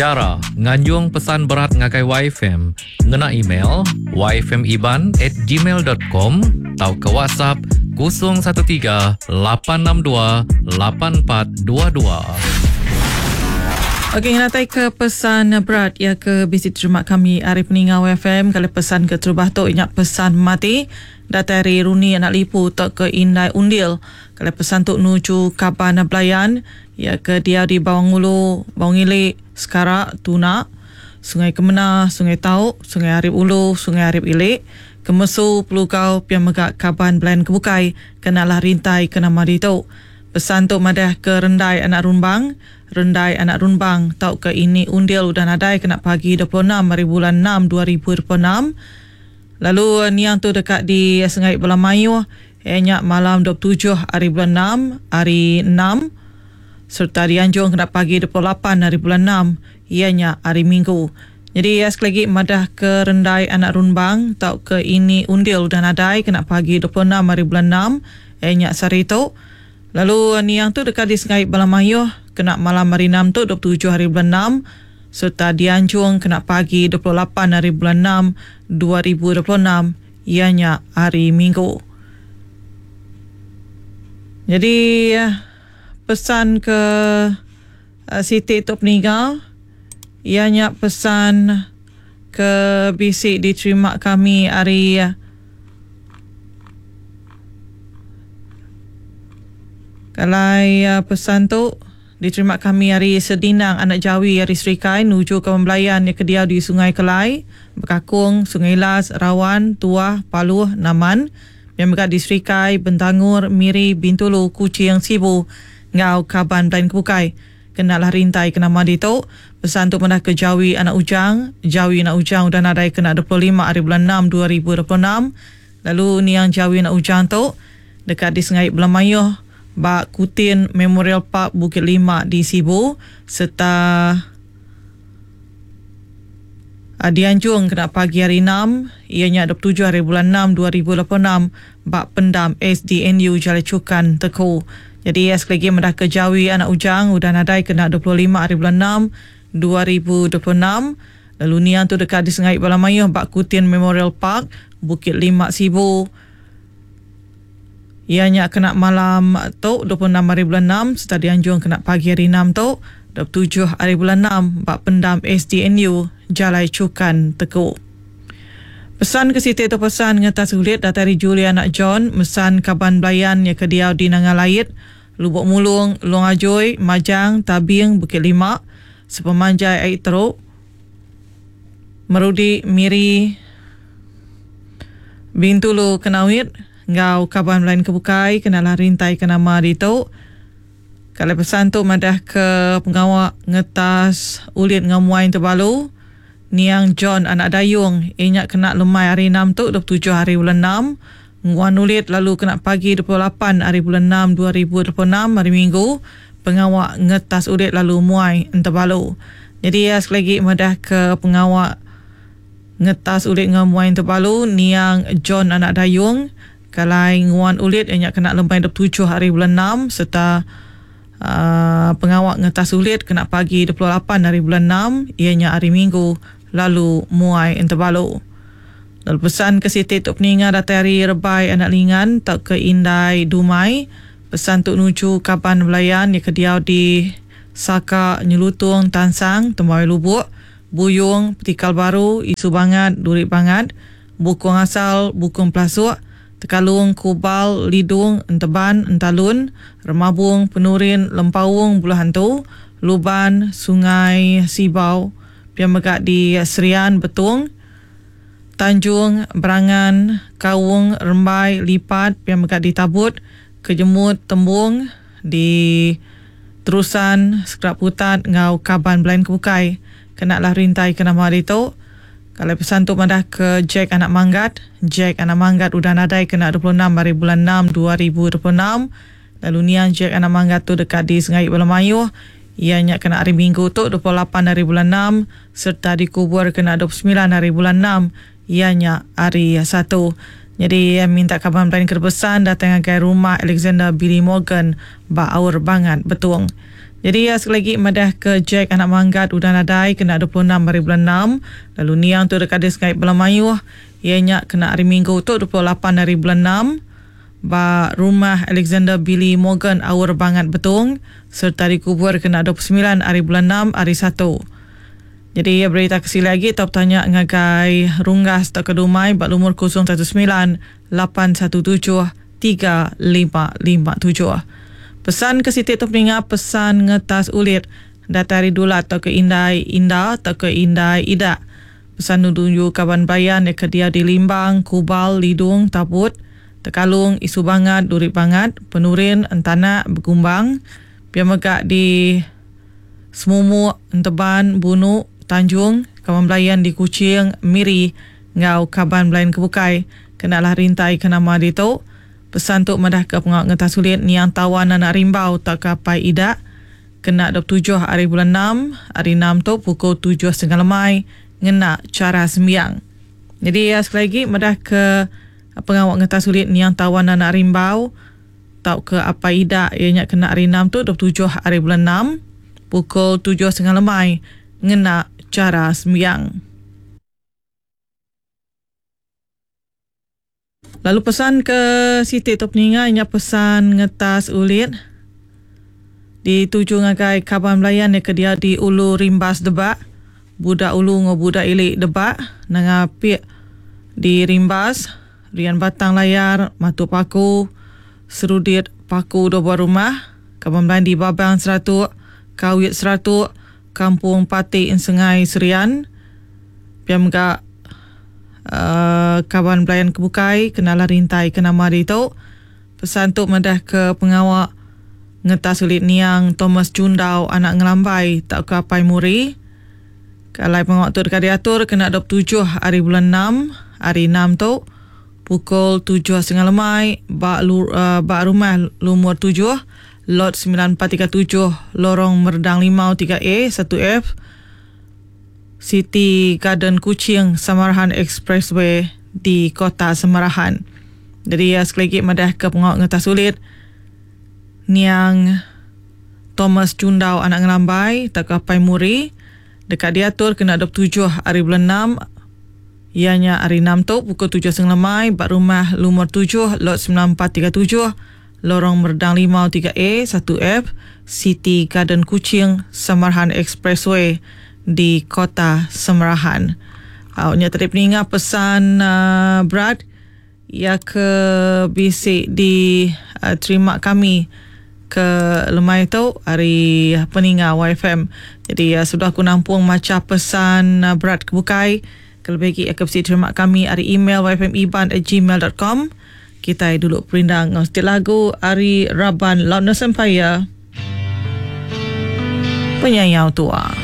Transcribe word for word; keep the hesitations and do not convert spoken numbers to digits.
Chara nganjung pesan berat ngagai Y F M ngena email y f m iban at gmail dot com tauka WhatsApp kosong satu tiga lapan enam dua lapan empat dua dua. Okey, ngatai ke pesan berat ya ke bisi terima kami ari peninga Y F M. Kalau pesan ke terubah tu ingat pesan mati datai ari Runi anak Lipu atau ke Indai Undil. Kalau pesan tu nuju Kaban Belayan ya ke dia di Bawang Ulu, Bawang Ilik, Sekarak, Tuna, Sungai Kemena, Sungai Tau, Sungai Arip Ulu, Sungai Arip Ilik, Kemesu, Pelugau, Piang Megak Kaban Belayan Kebukai, kenalah rintai ke nama ditu. Pesan tu madah ke Rendai anak Rumbang, Rendai anak Rumbang tau ke ini Undil udah nadai kena pagi dua puluh enam hari bulan enam dua ribu dua puluh enam. Lalu niang tu dekat di Sungai Belamayuh, ianya malam dua puluh tujuh hari bulan enam, hari enam, serta dianjung kena pagi dua puluh lapan hari bulan enam, ianya hari Minggu. Jadi ya, sekali lagi madah ke Rendai anak Rumbang tau ke ini Undil udah nadai kena pagi dua puluh enam hari bulan enam, ianya sehari tu. Lalu niang tu dekat di Sungai Belamayuh kena malam hari enam tu dua puluh tujuh hari bulan enam, serta dianjung kena pagi dua puluh lapan hari bulan enam dua ribu dua puluh enam, ianya hari Minggu. Jadi pesan ke, uh, Siti tu peninga, ianya pesan ke bisi diterima kami hari Kalai, uh, pesan tu diterima kami hari Sedinang Anak Jawi hari Serikai nuju ke Membelayan yang kediau di Sungai Kelai, Bekakung, Sungai Las, Rawan, Tuah, Paluh, Naman, yang mega di Serikai, Bentangur, Miri, Bintulu, Kuching, Sibu, Ngau, Kaban, Belayan Kebukai. Kenalah rintai ke nama ditu. Pesan tu pernah ke Jawi Anak Ujang. Jawi Anak Ujang udah nadai kena dua puluh lima hari bulan enam dua ribu dua puluh enam. Lalu niang Jawi Anak Ujang tu dekat di Sungai Belamayuh, Bak Kutin Memorial Park Bukit Lima di Sibu, serta dianjung kena pagi hari enam, ianya dua puluh tujuh hari bulan enam dua ribu dua puluh enam, Bak Pendam S D N U Jalai Cukan Teku. Jadi ya, sekali lagi mendah ke Jawi Anak Ujang udah nadai kena dua puluh lima hari bulan enam dua ribu dua puluh enam. Lalu niang tu dekat di Sungai Belamayuh Bak Kutin Memorial Park Bukit Lima Sibu. Ianya kena malam tu dua puluh enam hari bulan enam, serta dianjung kena pagi hari enam tu dua puluh tujuh hari bulan enam Bak Pendam S D N U Jalai Cukan Teku. Pesan ke Siti tu pesan ngetas ulit datang dari Julia anak John, mesan Kaban Belayan yang kediau di Nanga Lait, Lubuk Mulung, Long Ajoy, Majang, Tabing, Bukit Lima, Sepemanjai Air Teruk, Merudi, Miri, Bintulu, Kenawit, Ngau Kaban Belayan Kebukai, kenalah rintai ke nama ditu. Kalau pesan tu madah ke pengawak ngetas ulit ngamuai terbalu, Niang John anak Dayung, inyak kena lemai hari enam tu dua puluh tujuh hari bulan enam, nguan ulit lalu kena pagi dua puluh lapan hari bulan enam dua ribu dua puluh enam hari Minggu, pengawak ngetas ulit lalu muai enterbalu. Jadi ya, sekali lagi madah ke pengawak ngetas ulit ngamuai enterbalu, Niang John anak Dayung, kalai nguan ulit inyak kena lemai dua puluh tujuh hari bulan enam, serta uh, pengawak ngetas ulit kena pagi dua puluh lapan hari bulan enam, ianya hari Minggu, lalu muai enterbalu. Lalu pesan ke Siti Tok Peninga datang hari Rebai Anak Lingan tak ke Indai Dumai. Pesan tuk nuju Kaban Belayan yang kediau di Saka, Nyelutung, Tansang, Tembawai Lubuk, Buyung, Petikal Baru, Isu Bangat, Durik Bangat, Bukung Asal, Bukung Pelasuk, Tekalung, Kubal, Lidung, Enteban, Entalun, Remabung, Penurin, Lempaung, Buluh Hantu, Luban, Sungai Sibau, Piang Megak di Serian, Betung, Tanjung, Berangan, Kaung, Rembai, Lipat, Piang Megak di Tabut, Kejemut, Tembung, di Terusan, Sekerap Putat, Ngau Kaban Belayan Kebukai. Kenalah rintai ke nama hari tu. Kalau pesan tu madah ke Jack Anak Manggat. Jack Anak Manggat udah nadai kena dua puluh enam hari bulan enam dua ribu dua puluh enam. Lalu niang Jack Anak Manggat tu dekat di Sungai Belamayuh. Ianya kena hari Minggu tu dua puluh lapan hari bulan enam, serta dikubur kena dua puluh sembilan hari bulan enam, ianya hari Satu. Jadi minta kaban belayan kerbesan datang ke rumah Alexander Billy Morgan ba Aur Bangat Betung. Jadi ya, sekali lagi madah ke Jack anak manggat udah nadai kena dua puluh enam hari bulan enam. Lalu niang tu dekat dia sengaja bela mayuh. Ianya kena hari Minggu tu dua puluh lapan hari bulan enam. Ba rumah Alexander Billy Morgan Aur Bangat Betong. Serta dikubur kena dua puluh sembilan hari bulan enam hari satu. Jadi ya, berita kesili lagi top tanya ngagai Runggas atau Kedumai bak lumur kosong satu sembilan lapan satu tujuh tiga lima lima tujuh. Pesan ke Siti tu peninga pesan ngetas ulit datari dulat atau ke Indai Inda atau ke Indai Ida. Pesan nuju kaban bayan yang ke dia di Limbang, Kubal, Lidung, Tabut, Tekalung, Isu Bangat, Duri Bangat, Penurin, Entanak, Begumbang, pia megak di Semumuk, Enteban, Bunuk, Tanjung, kaban belayan di Kuching, Miri, ngau kaban belayan kebukai. Kenalah rintai ke nama ditu. Pesan tu madah ke pengawak ngetas sulit niang tawan anak rimbau tak kapai idak. Kena dua puluh tujuh hari bulan enam, hari enam tu pukul tujuh setengah lemai ngena cara sembiang. Jadi ya, sekali lagi madah ke pengawak ngetas sulit niang tawan anak rimbau tau ke apa idak ianya kena hari enam tu dua puluh tujuh hari bulan enam pukul tujuh setengah lemai ngena cara sembiang. Lalu pesan ke Siti tu peninga ianya pesan ngetas ulit dituju ngagai kaban belayan yang ke dia di Ulu Rimbas Debak, budak Ulu ngo budak Ilik Debak, nangapik di Rimbas, Rian Batang Layar, Matu Paku, Serudit Paku dua buah rumah, kaban belayan di Babang Seratuk, Kawit Seratuk, Kampung Patik Sengai Serian, piam gak uh, kaban belayan kebukai kenalah rintai ke nama ditu. Pesan tu madah ke pengawak ngetas sulit niang Thomas Jundau anak ngelambai tak ke apai muri. Kalau pengawak tu dekat diatur kena dua puluh tujuh hari bulan enam, hari enam tu pukul tujuh setengah lemai bak lu, uh, bak rumah lumur tujuh lot sembilan empat tiga tujuh Lorong Merdang Limau tiga A satu F City Garden Kuching Samarahan Expressway di Kota Samarahan. Jadi ya, sekali lagi madah ke pengawak ngetas sulit niang Thomas Jundau anak ngelambai tak ke apai muri dekat diatur kena dua puluh tujuh hari bulan enam ianya hari enam tu pukul tujuh setengah lemai bak rumah lumur tujuh lot sembilan empat tiga tujuh Lorong Merdang Limau tiga A satu F City Garden Kuching Samarahan Expressway di Kota Samarahan. Awaknya tadi peninga pesan uh, berat ia ke bisik di uh, terima kami ke lemai tu hari peninga Y F M. Jadi uh, sudah aku nampung maca pesan uh, berat kebukai. Kalau bagi aku bisik terima kami hari email y f m iban at gmail dot com. Kita dulu perindang setiap lagu hari Raban Loudness Empire Penyayau Tua.